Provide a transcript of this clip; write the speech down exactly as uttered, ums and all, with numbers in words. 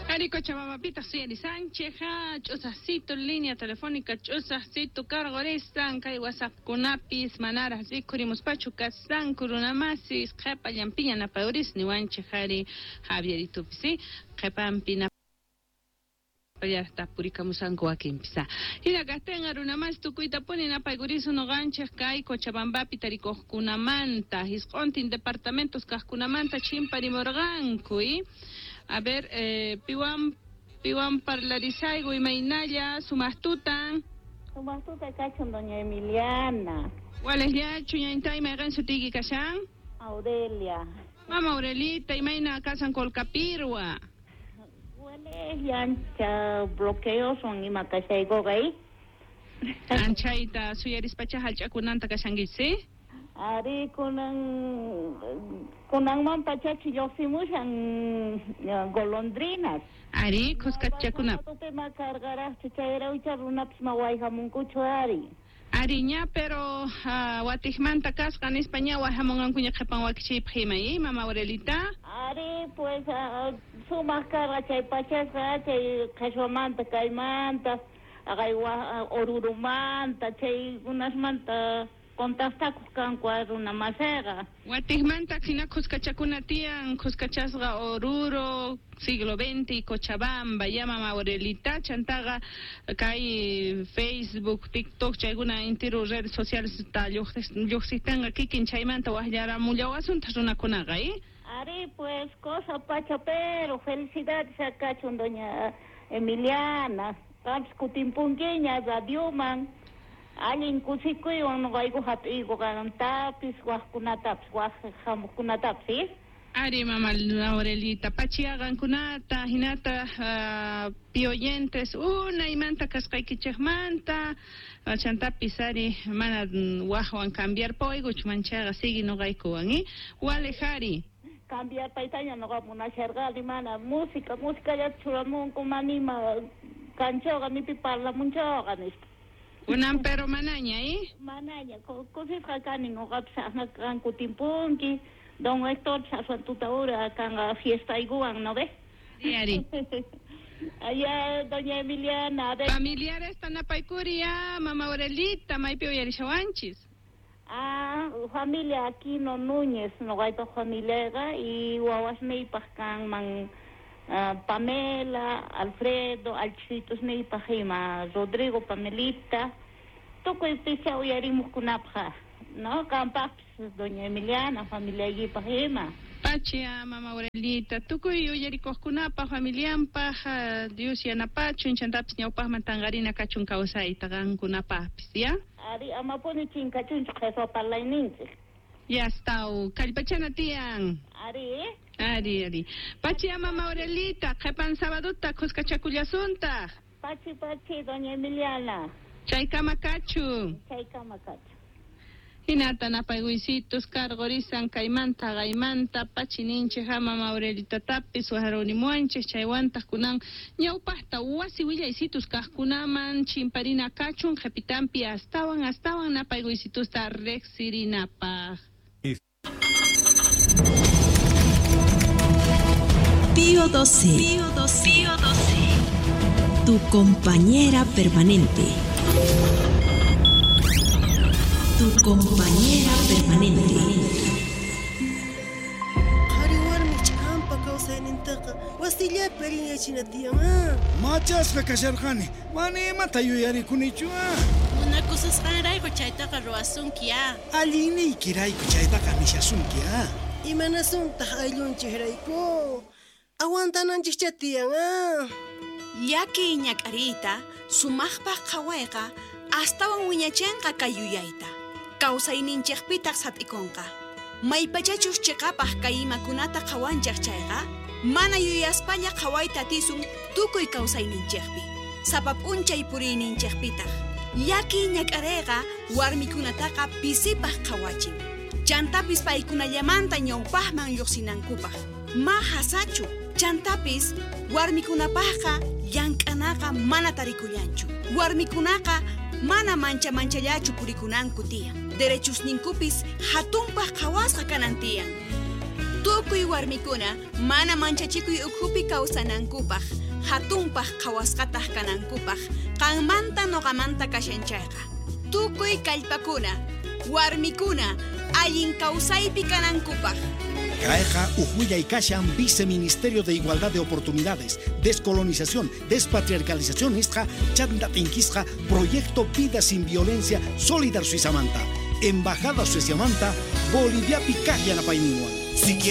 Ari Cochabambapita Suyari Sánchez, ch'usaqcito, línea telefónica ch'usaqcito, cargoristan, kay WhatsAppkunapis, manaras rikhurimuspachu kasanku runamasis, qhepallanpiña napayuris niwanchej ari Javieritupis, ¿sí? Qhepanpi napayarta purikamusanku wakinpis. Hina kaqtinqa runamas tukuyta puni napaykurisun noqanchej kay Cochabambapi tarikuqkunamanta, hisq'untin departamentos kaqkunamanta chimparimurqanku, ¿y? A ver, eh, piwan, piwan parlarisayku imaynalla sumaqtutan. Sumaqtuta kachun doña Emiliana. Walejllachu ñañtay mayqin sutiyki kashan? Aurelia. Mama Aurelita, imayna kasan Colcapirwa. Walejlla ancha bloqueos son ima kashaykuqa, ¿eh? Anchayta suyarispacha hallch'akunanta kashankichis, ¿sí? Ari kunan kunanman pachachi lluqsimushan golondrinas. Ari kuskachakuna. Ma cargaraqchu chayrawcha runapis ma wayhamunkuchu ari. Ari ña pero uh, watiqmanta kasqa nispa ña wayhamunqankuña qhipan wakichiypaq ima, ¿eh? Mama Aurelita. Ari pues uh, sumaq karqa chay pachasqa chay qhashwamanta kaymanta aqay orurumanta chaykunasmanta contactakuq kanku runa masiqa. Watiqmanta hina kuskachakuna tiyan, kuskachasqa Oruro, siglo veinte, Cochabamba, ya mama Aurelita, chantaqa kay Facebook, TikTok, chaykuna intiru redes sociales ta lluqsistanqa kikin chaymanta waqllaramullawasunta runakunaqa, ¿eh? Ari pues cosa pacha, pero felicidades akachun doña Emiliana, qampis kutinpunkiña radioman. Allin kusikuywan noqayku hap'iyku qantapis waqkunatapis waq hamuqkunatapis, ¿sí? Ari mama Aurelita, pachiaqankunata hinata uh, pioyentes unaymanta kasqaykichikmanta chantapis ari mana waqwan cambiar paykuchu manchaqa sigui noqaykuwan, ¿eh? Walej ari. Cambiar paytaña noqa munasharqani mana música, música churamunku manima kanchawqa nipi parlamunchawqa nispa. Kunan pero manaña, ¿eh? Manaña, kusisqa kani noqapis aqna kutinpunki, don Héctor aswan tutahora kanqa fiestaykuwan, ¿no ve? Sí, ari. Allá, doña Emiliana, a ver. Familiares tanapaykuri, ya, mama Aurelita, maypi uyarishawanchis. Ah, familia Aquino Núñez, noqaypaq familiaqa y wawasniypaq kanman Uh, Pamela, Alfredo, alchitosniypaq ima, Rodrigo, Pamelita, tukuy picha uyarimuqkunapaq, ¿no? Qampaqpis doña Emiliana, familiaykipaq ima. Pachia, mama Aurelita, tukuy uyarikuqkunapaq, familianpaq, uh, Dios yanapachun, chantapis ñawpaqman tanqarina kachun kawsayta qankunapaqpis, ¿ya? Ari, amapuni chinkachunchu qheswa parlayninchik. Ya está, kallpachana tiyan. Ari, ¿eh? Ari, ari. Pachi, mama Aurelita, qhipan sabaduta kuskachakullasuntaq. Pachi, pachi, doña Emiliana. Chaykama kachu. Chaykama kachu. Hinata napaykuysitus cargorisan kaymanta qaymanta pachi ninchej mama Aurelitatapis wajarunimuanchej chaywantaq kunan ñawpaqta wasi willaysitus kaqkunaman chimparina kachun qhipitanpi astawan astawan napaykuysitusta riqsirinapaq. Pío doce, Pío doce, Pío doce, tu compañera permanente. Tu compañera permanente. Qhari warmi ch'ampa kawsaynintaqa wasillapi allinyachina tiyan, ah. Machasqa kasharqani, mana imata yuyarikunichu, ah. Munakususqanrayku chaytaqa ruwasunki, ah. Allinniykirayku chaytaqa nishasunki, ah. Imanasuntaq ayllunchikrayku. Aguantananchikcha tiyan, ah. Llaki ñak'ariyta sumaqpaq qhawayqa astawan wiñachinqa kay yuyayta. Kawsayninchikpitaq sat'ikunqa. Maypachachus chiqapaq kay imakunata qhawanchik chayqa, mana yuyaspalla qhawayta atisun tukuy kawsayninchikpi. Sapa p'unchay puriyninchikpitaq. Llaki ñak'ariyqa warmikunataqa pisipaq qhawachin. Chantapis paykunallamanta ñawpaqman lluqsinankupaq. Ma hasachu. Chantapis warmikunapaqqa llank'anaqa mana tarikullanchu. Warmikunaqa mana mancha manchallachu purikunanku tiyan. Derechusninkupis hatunpaq qhawasqa kanan tiyan. Tukuy warmikuna mana manchachikuy ukhupi kawsanankupaq, hatunpaq qhawasqataq kanankupaq, qanmanta noqamanta kashan chayqa. Tukuy kallpakuna, warmikuna, allin kawsaypi kanankupaq. Kayqa uj kashan Viceministerio de Igualdad de Oportunidades, Descolonización, Despatriarcalización nisqa chanta tinkisqa Proyecto Vida Sin Violencia Solidar Suizamanta, Embajada Sueziamanta, Boliviapi kaq yanapayninwan. Si quieres